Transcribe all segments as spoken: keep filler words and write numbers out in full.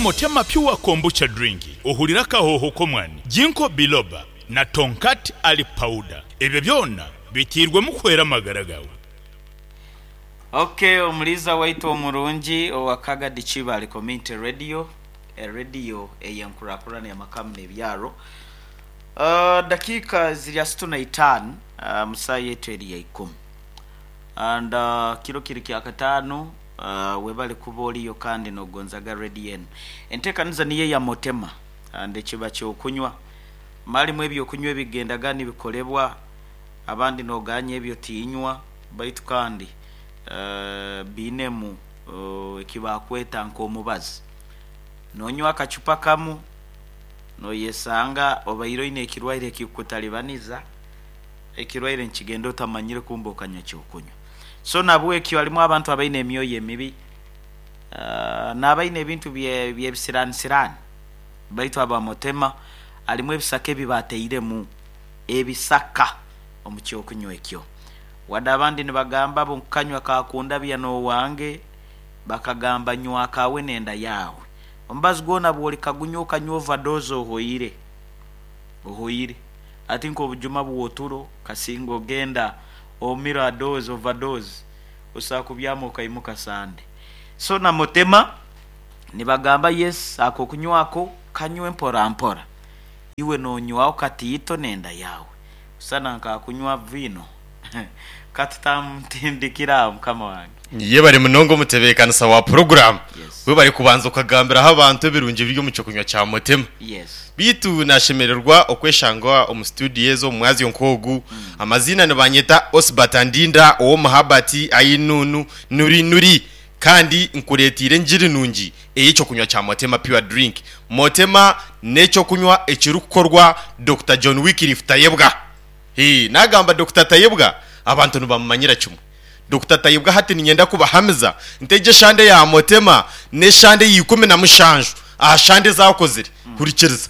Motema Pure Kombucha Drink ohurire akahooho k'omwani, Ginkgo Biloba na Tongkat Ali Powder. Ebyo byona biteirwemu kuhwera amagara gaawe. Ok omuliiza waitu omurungi owa Kagadi Kibaale Community Radio, erediyo ey'enkurakurana y'amaka n'ebyaro. Uh, dakiika ziri asatu na itaano uh, mu saaha yaitu eri ya ikumi and uh, kiro kiri kya kataano uh, webale kuba oriyo kandi nogonzaga rediyo enu. Enteekaniza niyo eya Motema and ekiba ky'okunywa malimu ebyokunywa ebigendaga nibikolebwa abandi noganya ebyo tinywa baitu kandi uh, biinemu uh, ekibakweta nk'omubazi. Nonywa akacupa kamu noyesanga obaire oine ekirwaire ekikukutalibaniza, ekirwaire nikigenda otamanyire kumbe okanywa ekyokunywa. So nabwekyo harimu abantu abaine emyoyo emibi uh, n'abaine ebintu by'ebisiranisirani baitu aba Motema harimu ebisaka ebi bateiremu ebisaka omu kyokunywa ekyo. Wadde abandi nibagamba bo nkukanywa kakundabya n'owange, bakagamba nywa kawe n'enda yaawe. Omubazi gwona bw'olikagunywa okanywa overdose ohoire, ohoire. Ati nk'obujuma bw'oturo kasinga ogenda omira dose overdose osobola kubyama okaimuka Sande. So na Motema nibagamba yes akokunywako kanywe mpora mpora. Iwe nonywaho katiito n'enda yaawe. Kusana nkakunywa viino katutamutindikira aho mukama wange. Yebare munonga omutebeekanisa wa puroguramu. Yes. Webare kubanza okagambiraho abantu ebirungi ebiri omu kyokunywa kya Motema. Yes. Beitu nashemererwa okweshanga omu studio ezo omu mwazyo nk'ogu. Amaziina nibanyeta Osbert Ndinda ow'omuhabati Ainunu Nuri Nuri kandi nkureeteire engiri nungi ey'ekyokunywa kya Motema Pure Drink. Motema n'ekyokunywa ekirikukorwa Dokita John Wycliffe Tayebwa. Hee, nagamba Dokita Tayebwa abantu nibamumanyira kimwe. Dokita Tayebwa hati niinyenda kubahamiza nti egi eshande ya Motema n'eshande ya ikumi na mushanju aha shande ezi akozire. Hurikiriza.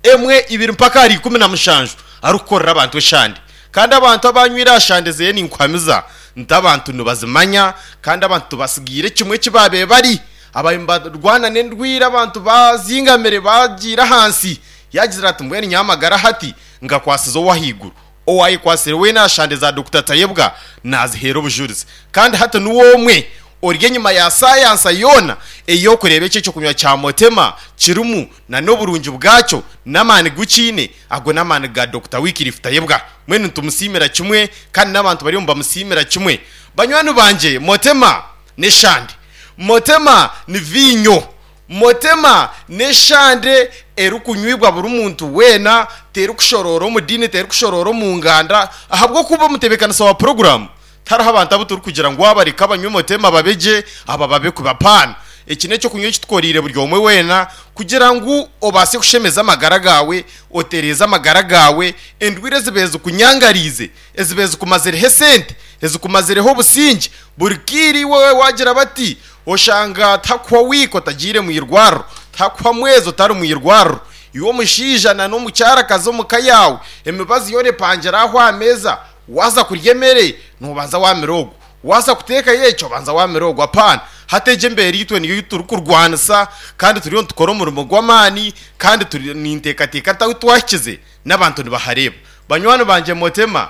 Emwe, ibiri mpaka ahari ikumi na mushanju arikukorera abantu eshande. Kandi abantu abanywire aha shande zeye ninkuhamiza nti abantu nibazimanya kandi abantu tubasigiire kimwe eki baabaire bari. Ababaire nibarwana n'endwire abantu bazingamire bagiire ahansi. Yaagira ati mbwenu nyowe amagara hati ngakwasize ow'ahaiguru. Owaayekwasire weena aha shande za Dokita Tayebwa naaziheera obujurizi. Kandi hati niwe omwe ori enyima ya sayansa yoona ey'okureeba eki ekyokunywa kya Motema kirimu na n'oburungi bwakyo n'amaani gu kiine, ago n'amaani ga Dokita Wycliffe Tayebwa. Mbwenu nitumusiimira kimwe kandi n'abantu bariyo nibamusiimira kimwe. Banywani bangye, Motema n'eshande. Motema ni viinyo. Motema n'eshande erikunywibwa buri muntu weena, terikushoroora omu diini, terikushoroora omu nganda, ahabw'okuba omutebeekanisa wa puroguraamu tihariho abantu abu turikugira ngu aba reka banywe Motema babe gye, aba babe kubi. Apaana. Eki n'ekyokunywa eki tukoreire buri omwe weena kugira ngu obaase kushemeza amagara gaawe, otereeze amagara gaawe, endwire ezibaire zikunyangariize, ezibaire zikumazireho esente, ezikumazireho obusingye, buri kaire iwe waagira bati oshanga tihakuhwa wiiki otagiire mu irwariro, tihakuhwa mwezi otari mu irwariro. Iwe omushaija na n'omukyarakazi omu ka yaawe, emibazi yoona epangire aho aha meeza, waaza kurya emere noobanza waamira ogwo, waaza kuteekayo eki obanza waamira ogwo. Apaana, hati egi embeera itwe niyo ei turikurwanisa kandi turiyo nitukora omurimo gw'amaani kandi turi ninteekateeka nti ahu twahikize n'abantu nibahareeba. Banywani bangye Motema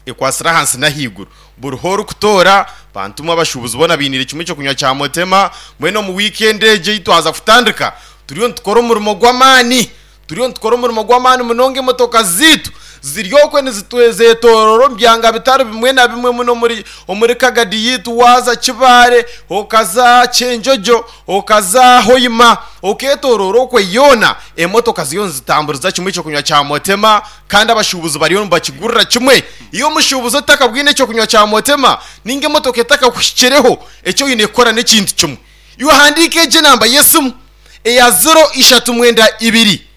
ekwatsire ahansi n'ahaiguru. Buri h'orikutoora, bantu imwe abashuubuzi boona bainiire kimwe ekyokunywa kya Motema. Mbwenu omu wiikendi egi ei twaza kutandika, turiyo nitukora omurimo gw'amaani. Turiyo nitukora omurimo gw'amaani munonga emotoka zaitu ziri okwe nizetoorora omu byanga bitari bimwe na bimwe muno omuri omuri Kagadi yaitu. Waaza Kibaare, okaza Kyenjojo, okaza Hoima, okeetoorora okwe yoona, emotoka ziriyo nizitamburiza kimwe ekyokunywa kya Motema kandi abashuubuzi bariyo nibakigurira kimwe. Iwe omushuubuzi otakabwine ekyokunywa kya Motema ninga emotoka etakakuhikireho, eki oine kukora n'ekintu kimwe. Iwe handiika egi enamba y'esimu eya ziro ishatu mwenda ibiri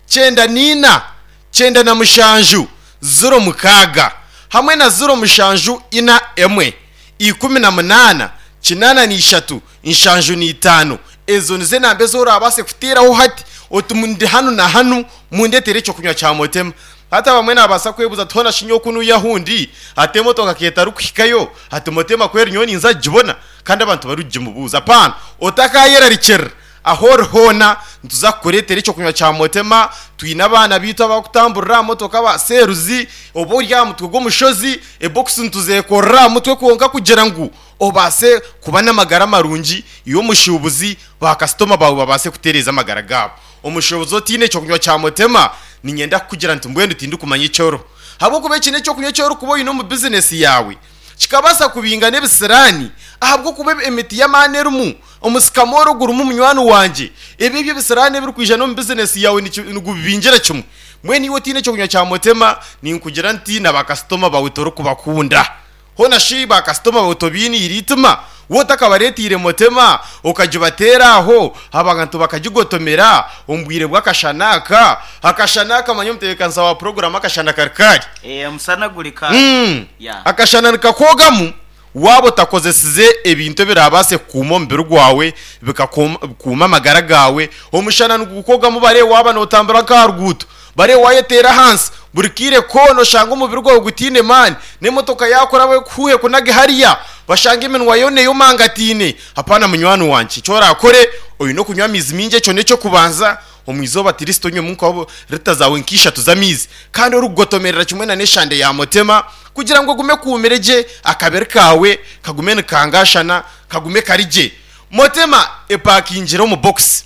kyenda n'ina kyenda na mushanju ziro mukaaga hamwe na ziro mushanju ina emwe ikumi na munaana kinaana na ishatu nshanju na itaano. Ezo nizo enamba ezi oraabaase kuteeraho hati oti ndi hanu na hanu mundeetere ekyokunywa kya Motema. Hati abamwe naabaasa kwebuuza ati hoona shi nyowe ku nuuya ahu ndi hati emotoka ka etarikuhikayo hati Motema ku eri nyowe ninza kugibona? Kandi abantu barikugimubuuza. Apaana, otakaayerarikirira. Aho ori hoona nituza kukureetera ekyokunywa kya Motema. Twine abaana baitu abakutamburira aha motoka ba seruzi, oba ori aha mutwe gw'omushozi, ebokisi nituzekorera aha mutwe kwonka kugira ngu obaase kuba n'amagara marungi, iwe omushuubuzi bakasitoma baawe babaase kutereeza amagara gaabo. Omushuubuzi otiine ekyokunywa kya Motema, niinyenda kukugira nti mbwenu tindikumanya eki oriho, ahabw'okuba eki n'ekyokunywa eki orikuba oine omu bizinesi yaawe kikabaasa kubinga n'ebisiraani, ahabw'okuba emiti y'amaani erimu omusikamoro gurimu munywani wangye, ebi eby'ebisiraani ebirikwija n'omu bizinesi yaawe nigubibingira kimwe. Mbwenu iwe otiine ekyokunywa kya Motema, ninkugira nti na bakasitoma baawe torikubakunda. Hoona shi bakasitoma baawe tobainiire eitima? Waaba otakabareeteire Motema okagibateera aho abantu bakagigotomera omu bwire bw'akashana aka? Akashana aka manya omutebeekanisa wa puroguraamu akashana kari kari. Eh, omusana guri kari. Mm. Yeah. Akashana nikakwogamu waaba otakozesize ebintu ebirabaase kukuuma omubiri gwawe, bikakuuma amagara gaawe. Omushana nigukwogamu bare waaba nootambura nk'aha ruguuto, bare wayeteera ahansi buri kaire koona oshanga omubiri gwawe gutiine maani, n'emotoka yaakuraba ekuhuhe kunage hariya, bashanga eminwa yoona eyomangatiine. Hapana munywani wangye, eki orakore oine okunywa amaizi mingi, ekyo n'ekyokubanza. Omu izooba at least onywemu nka rita zaawe nk'ishatu z'amaizi, kandi orikugotomerera kimwe na n'eshande ya Motema kugira ngu ogume okuumire gye akabiri kaawe kagume nikangashana, kagume kari gye. Motema epakingire omu bokisi.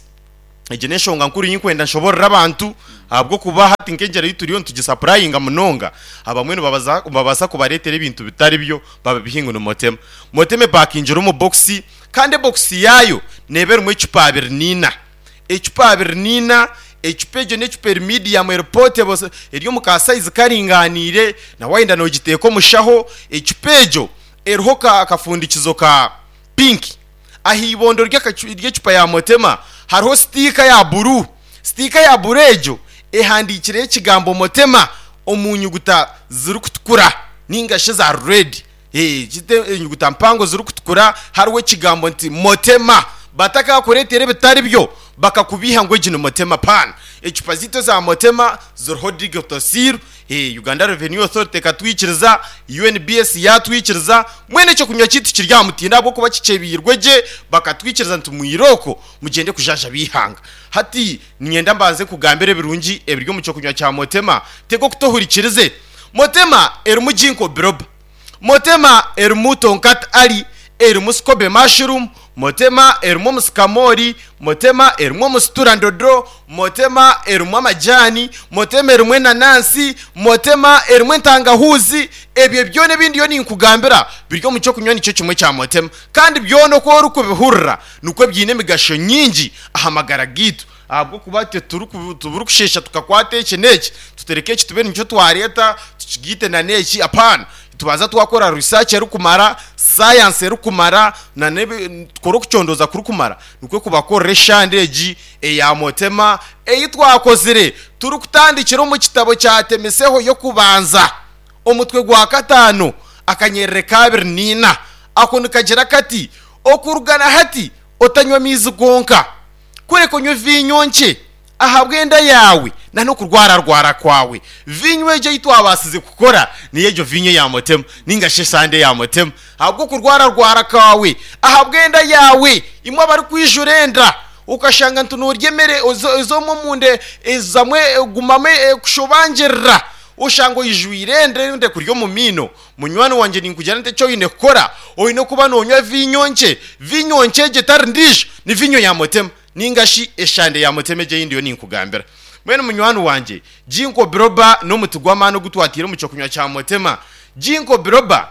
Egi n'enshonga nkuru ei nkwenda nshoborore abantu, ahabw'okuba hati nk'engyero ei turiyo nitugisapurayinga munonga, abamwe nibabaza nibabaasa kubareetera ebintu bitari byo babibihe ngu ni Motema. Motema epakingire omu bokisi, kandi ebokisi yaayo neeba erimu ecupa abiri n'ina. Ecupa abiri n'ina, ecupa egyo n'ecupa eri medium, eri portable, eri omu ka sayizi karinganiire, na waayenda noogiteeka omu shaho. Ecupa egyo eriho ka akafundikizo ka pinki. Aha ibondo ry'ecupa ya Motema hariho sitiika ya buru. Sitiika ya buru egyo ehandiikireho ekigambo Motema omu nyuguta zirikutukura ninga shi eza redi. Enyuguta mpango zirikutukura hariho ekigambo nti Motema. Batakakureetera ebitari byo bakakubiiha ngu egi ni Motema. Paana. Ecupa zaitu eza Motema ziriho digital seal, Uganda Revenue Authority ekatwikiriza, U N B S yaatwikiriza, mbwenu ekyokunywa kyaitu kiri aha mutindo ahabw'okuba kikyebiirwe gye, bakatwikiriza nti mwirooko mugyende kujanjaba eihanga. Hati niinyenda mbanze nkugambire ebirungi ebiri omu kyokunywa kya Motema, tega okutu ohurikirize. Motema erimu Ginkgo biloba, Motema erimu Tonkat Ali, erimu Scobe mushroom, Motema erimu omusikamoori, Motema erimu omusiturandodo, Motema erimu amajani, Motema erimu enanansi, Motema erimu entangahuuzi. Ebyo byona ebi ndiyo ninkugambira biri omu kyokunywa nikyo kimwe kya Motema. Kandi byona oku orikubihurira nikwo biine emigasho nyingi aha magara gaitu. Ahabw'okuba itwe tiburikusheesha tukakwata eki n'eki, tutereke eki tube nikyo twareeta tukigaite na n'eki, apaana. Tubanza twakora research erikumara, sayansi erikumara, na tukore okucondooza kurikumara nikwo kubakorera eshande egi eya Motema ei twakozire turikutandikira omu kitabo kya Temiseho y'okubanza omutwe gwa kataano akanyerere ka abiri n'ina. Ako nikagira kati: Okuruga na hati otanywa amaizi gonka, kureka onywe viinyo nkye ahabw'enda yaawe na n'okurwararwara kwawe. Viinyo egyo ei twabaasize kukora niyo egyo viinyo ya Motema ninga shi esande ya Motema. Ahabw'okurwararwara kwawe, ahabw'enda yaawe, imwe abarikwijura enda okashanga nti noorya emere ez'omu omunda ezamu egumamu ekushobangirira, oshanga oijwire enda enda ekuri omu maino. Munywani wangye ninkugira nti eki oine kukora, oine kuba noonywa viinyo nkye. Viinyo nkye egyo etari ndiijo ni viinyo ya Motema ninga shi eshande ya Motema egyo ei ndiyo ninkugambira. Mbwenu munywani wangye, Ginkgo biloba n'omuti gw'amaani ogu twataire omu kyokunywa kya Motema. Ginkgo biloba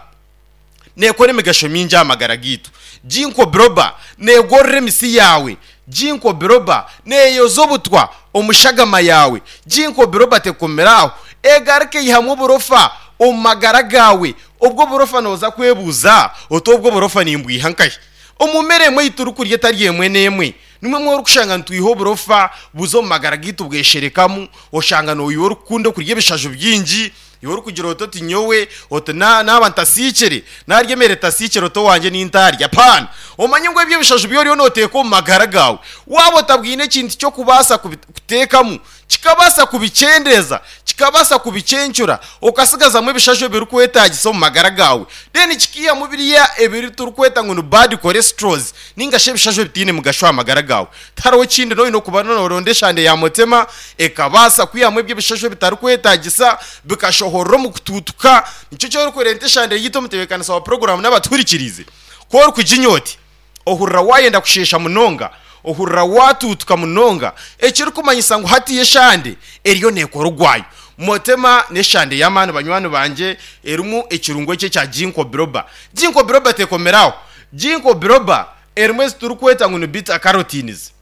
neekora emigasho mingi aha magara gaitu. Ginkgo biloba neegorora emisi yaawe. Ginkgo biloba neeyoza obutwa omu shagama yaawe. Ginkgo biloba tekomera aho, egaruka eihamu oburofa omu magara gaawe. Obwo oburofa nooza kwebuuza oti obwo oburofa nimbwiha nkahi? Omu mere emwe ei turikurya etari emwe n'emwe, nimwo emwe orikushanga nitwiha oburofa buza omu magara gaitu bwesherekamu, oshanga noiwe orikukunda okurya ebishaju bingi, iwe orikugira oti oti nyowe oti naaba ntasiikire, naarya emere etasiikire oti owangye nintaarya. Apaana! Omanye ngu ebyo ebishaju bi oriyo nooteeka omu magara gaawe, waaba otabwine ekintu ky'okubaasa kuteekamu, kikabaasa kubikyendeeza, Kikabasa kubicencura okasigazamu ebishasho ebirikwetagisa omu magara gawe. Then kikiyamu biriya ebiri turikweta ngu ni bad cholesterols ninga shi ebishasho ebitiine mugasho aha magara gawe. Tihariho ekindi noine okuba noronda eshande ya motema ekabasa kwihamu ebyo ebishasho ebitarikwetagisa bikashohorera omu kutuutuka. Nikyo kyorikurenta eshande yitu omutebeekanisa wa puroguramu n'abatuhurikiriize. Ku orikuginywa oti ohurira wayenda kusheesha munonga, ohurira watuutuka munonga, ekirikumanyisa ngu hatiyo eshande eriyo neekora ogwayo. Motema n'eshande y'amaani banywani bangye erimu ekirungo eki ekya ginkgo biloba. Ginkgo biloba tekomeraho. Ginkgo biloba erimu ezi turikweta ngu ni beta carotenes.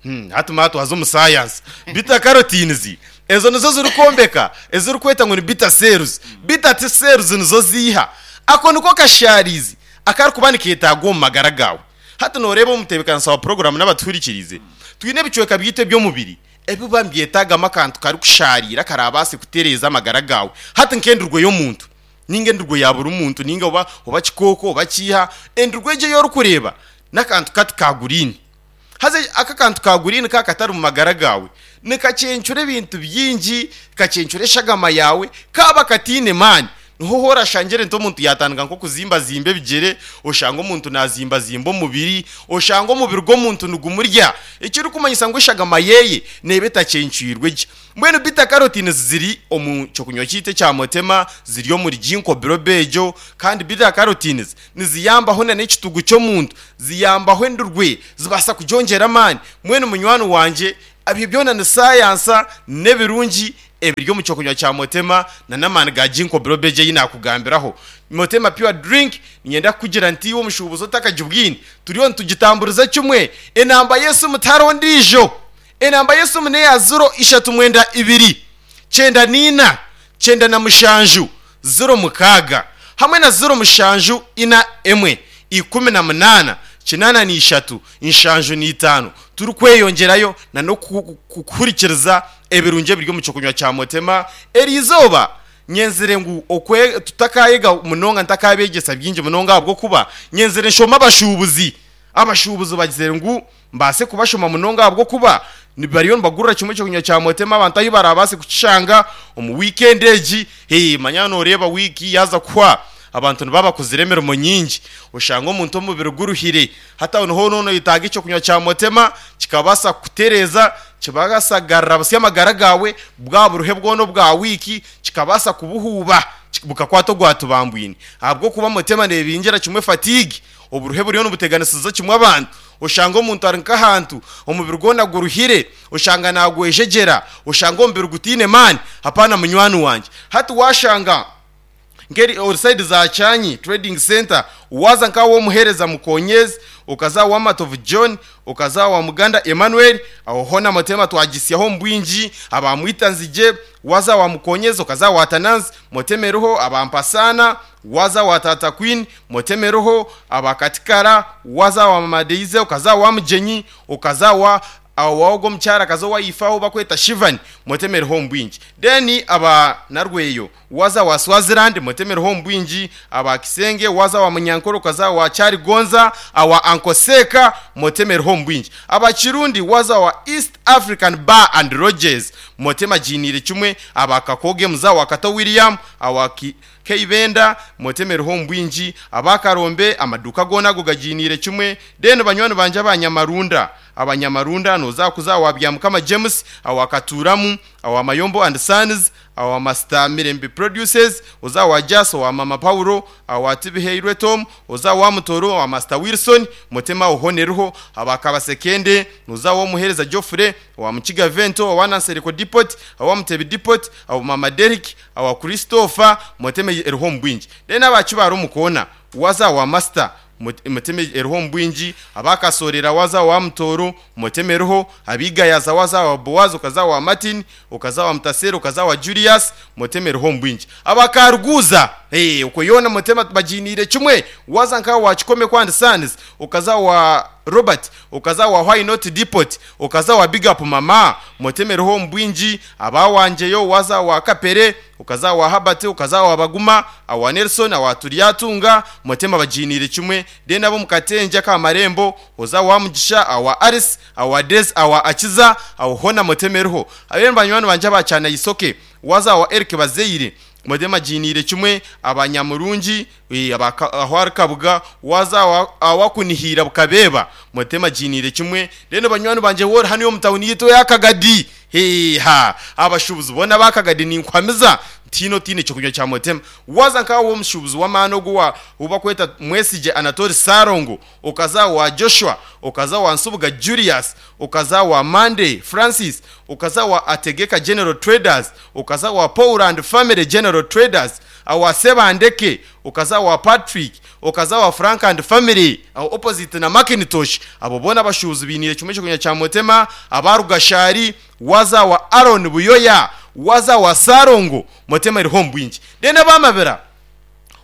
Hmm, hati mwatwaza omu science. Beta carotenes ezo nizo zirikwombeka ezirikweta ngu ni beta cells. Beta cells nizo ziiha. Ako niko kasharizi akarikuba nikeetagwa omu magara gawe. Hati noreeba omutebeekanisa wa puroguramu n'abatuhurikiriize, twine ebicweka byaitu eby'omubiri ebiba nibyetagamu akantu karikushariira karabaase kutereeza amagara gawe. Hati nk'endurwe y'omuntu ninga endurwe ya buri muntu ninga oba, oba kikooko oba kiiha, endurwe egyo ei orikureeba n'akantu kati ka green. Haza aka kantu ka green ka katari mu magara gawe nikacencura ebintu bingi, kacencura eshagama yawe, kaba katiine maani. Niho horashangire nti omuntu yatandika nk'okuzimbazimba ebigere, oshanga omuntu nazimbazimba omubiri, oshanga omubiri gw'omuntu nigumurya, ekirikumanyisa ngu eshagama yeye neeba etacencwirwe gye. Mbwenu beta carotenes ziri omu kyokunywa kyaitu ekya motema, ziri omuri ginkgo biloba egyo, kandi beta carotenes niziyambaho na n'ekitugu ky'omuntu, ziyambaho endurwe, zibaasa kugyongyera amaani. Mbwenu munywani wangye, ebyo byona ni sayansa n'ebirungi ebiri omu kyokunywa kya motema na n'amaani ga ginkgo biloba egyo ei naakugambiraho. Motema pure drink niinyenda kukugira nti iwe omushuubuzi otakagibwine, turiyo nitugitamburiza kimwe. Enamba y'esimu tihariho ndiijo. Enamba y'esimu n'eya ziro ishatu mwenda ibiri kyenda n'ina kyenda na mushanju ziro mukaaga hamwe na ziro mushanju ina emwe ikumi na munaana kinaana na ishatu nshanju na itaano. Turikweyongyerayo na n'okuhurikiriza ebirungi ebiri omu kyokunywa kya motema. Eri izooba nyenzire ngu okwe tutakayega munonga ntakabegyesa bingi munonga ahabw'okuba nyenzire nshome abashuubuzi. Abashuubuzi bagizire ngu mbaase kubashoma munonga ahabw'okuba bariyo nibagurira kimwe ekyokunywa kya motema abantu ahu barabaase kukishanga omu weekend egi. Hey, manya noreeba wiiki yaaza kuhwa abantu nibaba bakozire emirimo nyingi, oshanga omuntu omubiri guruhire. Hati aho niho noyetaaga ekyokunywa kya motema kikabaasa kukutereeza, kibaasa kugarura busya amagara gawe, bwa buruhe bwona obwa wiiki kikabaasa kubuhuuba bukakwata ogwatubambwine. Ahabw'okuba motema neebingira kimwe fatigue, oburuhe buriyo nibuteganisiza kimwe abantu. Oshanga omuntu ari nk'ahantu omubiri gwona guruhire, oshanga nagwejegyera, oshanga omubiri gutiine maani. Hapana munywani wangye. Hati washanga nkeri ori side za Kyanyi Trading Center, waza nka w'omuheereza Mukonyezi, okaza wa Matovu John, okaza wa Muganda Emmanuel, aho hona motema twagisyaho omu bwingi, abamwita Nzigye, waza wa Mukonyezi, okaza wa Tananzi, motema eriho, abampasana, waza wa Tata Queen, motema eriho, abakatikara, waza wa Mama Deize, okaza wa Mugyenyi, okaza wa awo omukyara akaza owayifaho bakweta Shivani, motema eriho omu bwingi. Then aba Narweyo, waza wa Swaziland, motema eriho omu bwingi, aba Kisenge, waza wa Munyankore, okaza wa Kyarigonza, awa Ankoseka, motema eriho omu bwingi. Aba Kirundi, waza wa East African Bar and Lodges, motema giiniire kimwe, aba Kakoge muza wa Kato William, awa Ki Keibenda, motema eriho omu bwingi, aba Karombe, amaduuka goona ago gagiiniire kimwe. Then banywani bangye abanyamarunda, abanyamarunda noza kuza wa Byamukama James, awa Katuramu, awa Mayombo and Sons, awa Master Mirembe Produces, oza wa Jas, owa Mama Paulo, awa Tibiheirwe Tom, oza wa Mutoro, awa Master Wilson, motema ohoneruho, aba Kabasekende, noza wa Muhereza Geoffrey, owa Mukiga Vento, owa Nansereko Depot, awa Mutebi Depot, awa Mama Derrick, awa Christopher, motema eriho omu bwingi. Then abakibara omukona, waza wa Master motema eriho omu bwingi, abakasorera waza wa Mutoro, motema eriho, abigayaza waza wa Boaz, okaza wa Martin, okaza wa Mutasero, okaza wa Julius, motema eriho omu bwingi. Abakaruguza, hey, okwo yoona motema bagiiniire kimwe, waza nka wa Kikome Kwandi Sons, okaza wa Robert, okaza wa Why Not Depot, okaza wa Big Up Mama, motema eriho omu bwingi, abawangyeyo waza wa Kapere, okaza wa Habati, okaza wa Baguma, awa Nelson, awa Turyatunga, motema bagiiniire kimwe. Then abo mukatenja ka Marembo, oza wa Mugisha, awa Aris, awa Des, awa Akiza, awo hona motema eriho. Abene banywani banje abakyana isoke, Waza wa Eric Bazeire, motema jinire kimwe. Abanyamurungi, aho ari Kabuga, waza awakunihira bukabeba, motema jinire kimwe. Rero banywani banje wori hano yo mutawuni yito yakagadi, heha, abashubuzi bona bakagadi ninkwamiza tino tine cyo kunywa cya motema. Waza nkawo omushubuzi w'amano guwa uba kweta Mwesije Anatole Sarongo, okaza wa Joshua, okaza wa Nsubuga Julius, okaza wa Monday Francis, okaza wa Ategeka General Traders, okaza wa Paul and Family General Traders, awa Sebandeke, okaza wa Patrick, okaza wa Frank and Family awo opposite na Macintosh. Abo bona bashubuzi binire kimwe cyo kunywa cya motema. Abarugashari, waza wa Aaron Buyoya, waza wa Sarongo, motema iriho mbwingi. Dena bamabera,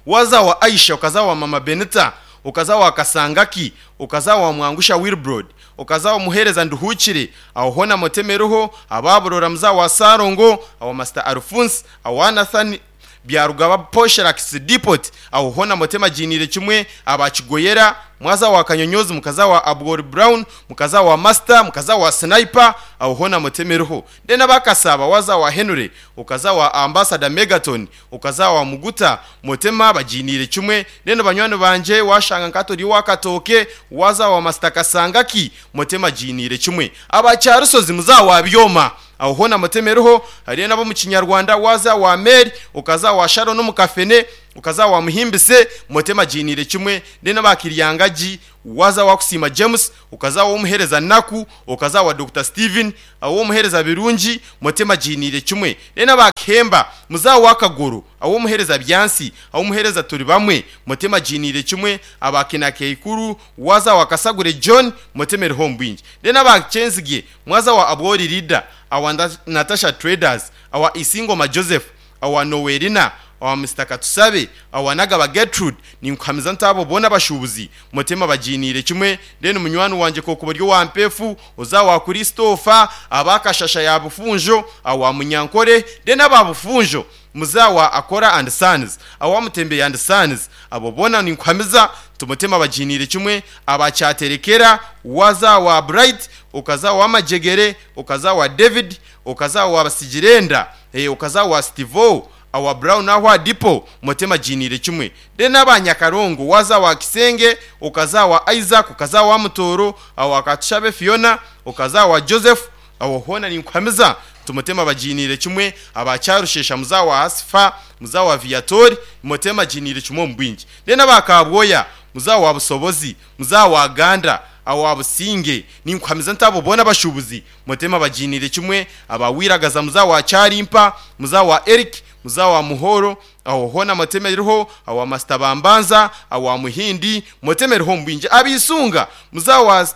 waza wa Aisha, ukaza wa Mama Benita, ukaza wa Kasangaki, ukaza wa Mwangusha Wilbrod, ukaza wa Muhereza Nduhukire, aho hona motema iriho. Ababurora, muza wa Sarongo, awo Master Alphonse, awa Nathan Byarugaba Posherax Depot, aho hona motema jinire kimwe. Abakigoyera, mwaza wa Kanyonyozi, mukaza wa Abgor Brown, mukaza wa Master, mukaza wa Sniper, aho hona motema iriho. Dena bakasaba, waza wa Henry, ukaza wa Ambassador Megaton, ukaza wa Muguta, motema bajinire kimwe. Dena banywani banje, washanga nkatori wakatoke, waza wa Master Kasangaki, motema jinire kimwe. Abacyarusozi, muza wa Byoma, aho hona motema iriho. Hariyo nabo mu Kinyarwanda, waza wa Mary, ukaza wa Sharon no mukafene, ukaza wa Muhimbise, motema jinire kimwe. Dena bakiryangaji, waza wa Kusima James, ukaza wa Umuhereza Naku, ukaza wa Doctor Steven, awo Umuhereza Birungi, motema jinire kimwe. Dena bakemba, muza wa Kaguru, awo Umuhereza Byansi, awo Umuhereza turi bamwe, motema jinire kimwe. Abakina Keikuru, waza wa Kasagure John, motema iriho mbwingi. Dena bakenzige, mwaza wa Abori Leader, awa Natasha Traders, awa Isingoma Joseph, awa Noelina, awa Mister Katusabe, awa Nagaba Gertrude, ninkwamiza ntabo bona bashubuzi motema bajinire kimwe. Then munywani wanje koko buryo wa mpefu, uza wa Christopher, abakashasha ya bufunjo, awa Munyankore, then ababufunjo, muzawa Akora and Sons, awa Mutembe and Sons, abo bona ninkwamiza tumutema bajinire kimwe. Abacyaterekera, waza wa Bright, ukaza wa Majegere, ukaza wa David, ukaza wa Basigirenda, eh ukaza wa Stevo, awa Brown aho Dipo, motema jinire kimwe. De n'abanyakarongo, waza wa Kisenge, ukaza wa Isaac, ukaza wa Mutoro, awa Katushabe Fiona, ukaza wa Joseph, awo hona ninkwamiza tumutema bajinire kimwe. Abacyarushesha, muza wa Asfa, muza wa Viatori, motema jinire kimwe mbwingi. De n'abakabwoya, muza wa Busobozi, muza wa Ganda, awa Businge, ninkwamiza ntabo bona bashubuzi motema bajinire kimwe. Abawiragaza, muza wa Cyarimpa, muza wa Eric, muza wa Muhoro, aho hona motema iriho. Awa Master Bambanza, awa Muhindi, motema iriho mbwingi. Abisunga, muza wa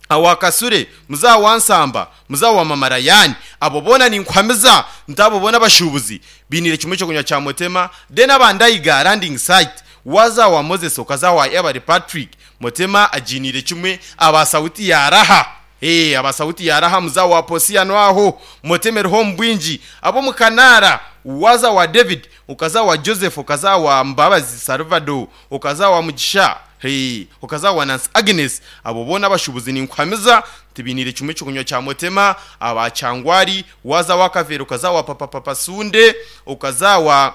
awa Kasure, muza wa Nsamba, muza wa Mamarayani, abo bona ninkwamiza ntabo bona bashubuzi binire kimwe cyo kunywa cya motema. De n'abandayiga landing site, waza wa Moses, ukaza wa Ebari Patrick, motema ajinire kimwe. Aba sauti ya raha, eh aba sauti ya raha, muza wa Posia nwaho, motema iriho mbwingi. Abo mukanara, waza wa David, ukaza wa Joseph, ukaza wa Mbabazi Salvador, ukaza wa Mugisha, hey, ukaza wa Nancy Agnes, abo bona bashubuzi ninkwamiza tibinire kimwe cyo kunywa cya motema. Abacangwari, waza wa Kavero, ukaza wa Papa Papa Sunde, ukaza wa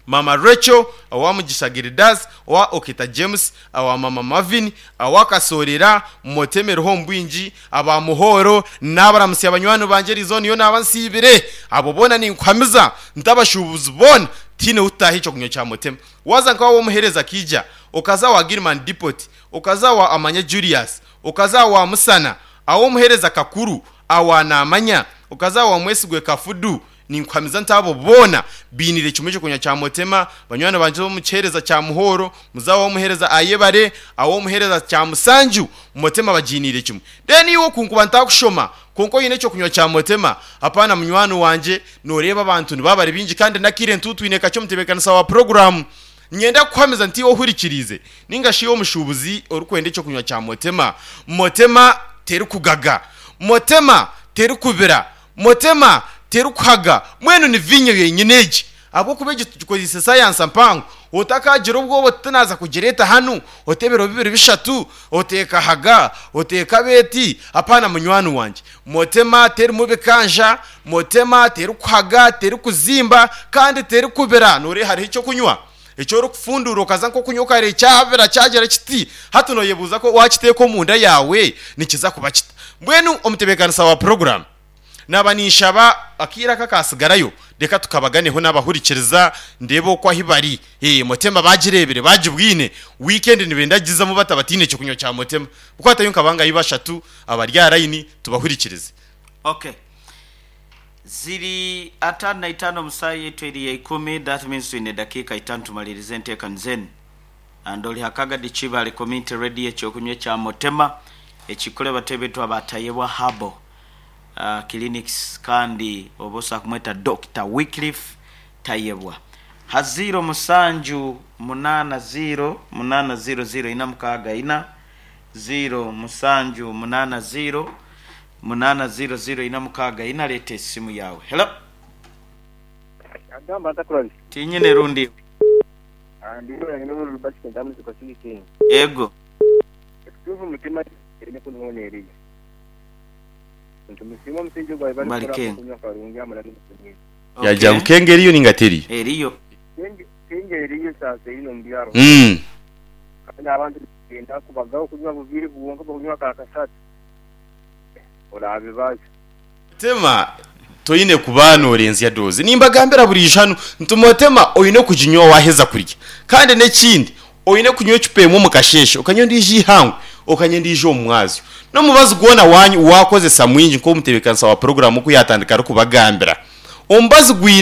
Mama Rachel, awa Mugisha Gildas, awa Okita James, awa Mama Marvin, awa Kasorera, moteme roho mbwingi. Aba Muhoro n'abaramusi abanywani banje rizone yo nabansibire, abo bona ninkwamiza ntabashubuzi bona tine utahi cyo kunywa cya motema. Waza nkawo womuhereza kija, ukaza wa Gilman Depot, ukaza wa Amanya Julius, ukaza wa Musana, awo muhereza Kakuru, awa Namanya, ukaza wa Mwesigwe Kafudu, ninkwamiza ntabo bona binire kimwe cyo kunywa cya motema. Banywana banje bo mucereza cya Muhoro, muzawo wo muhereza Ayebare, awo muhereza cya Musanju, motema bajinire kimwe. Then iwo kunkuba ntakushoma konko yine cyo kunywa cya motema, apana munywani wanje noreba abantu nibabare bingi kandi nakire ntutwine kacyo mutebekanisa wa program. Nyenda kwameza nti ohurikirize ninga shiyo mushubuzi orukwende cyo kunywa cya motema. Motema teru kugaga, motema teru kubira, motema teru kuhaga, mwenu ni vinyo yenyeneji abo kubeje tukozesa science mpango. Otakagira obwoba tinaza kugireta hanu, otebero bibiri bishatu, oteka haga, oteka beti, apana munywani wanje. Motema teri mubikanja, motema teri kuhaga, teri kuzimba, kandi teri kubira. Nore hari icyo kunywa. Icyo uri kufundura ukaza nko kunywa kare cyabira cyagera kiti. Hatu noyebuza ko wakiteka omunda yawe nikiza kuba kita. Mbwenu omutebekanisa wa program naba ninshaba akira kakasigarayo reka tukabaganeho n'abahurikiriza ndebe uko aho bari. Eh motema bagirebere bagibwine weekend nibendagizamo batabatine cyo kunywa cya motema kuko hatayo nkabanga yibashatu abarya line tubahurikirize. Okay, ziri atano na itano musayi yetu eri ya ikumi, that means twine dakika itano tumalirize enteekaniza andoli hakagadi Kibale Community Radio ekyokunywa kya motema ekikole batebe abatayebwa habo uh, clinics kandi obosa kumweta Doctor Wycliffe Tayebwa ha zero musanju munana zero munana zero zero ina mukaga ina zero musanju munana zero munana zero zero ina mukaga ina. Leta esimu yawe. Hello. Agamba ntakurabye. Tinyine rundi. Ndiyo yange n'urubashike ndamuzi kwa kindi. Ego. Tuvu mutima ene kunone eriya. Ntumusimo msingi gwa ibali Bali kunywa karungi amala n'umusingi. Yajya nkenge eriyo ningateri. Eriyo. Kenge kenge eriyo sasa ino mbyaro. Mm. Kandi abantu genda kubagaho kunywa bubiri buwonka kunywa kakasatu. Orabe baje. Tema toyine kubano orenzya doze nimba gambira buri jano ntumotema oyine kujinywa waheza kurya kandi nekindi oyine kunywa chupemo mukasheshe ukanywa ndiji hangu ukanywa ndiji omwazi no mubazi gona wanyu wakoze samwinji nko mutebekansa wa program ko yatandika ari kubagambira ombazi gwine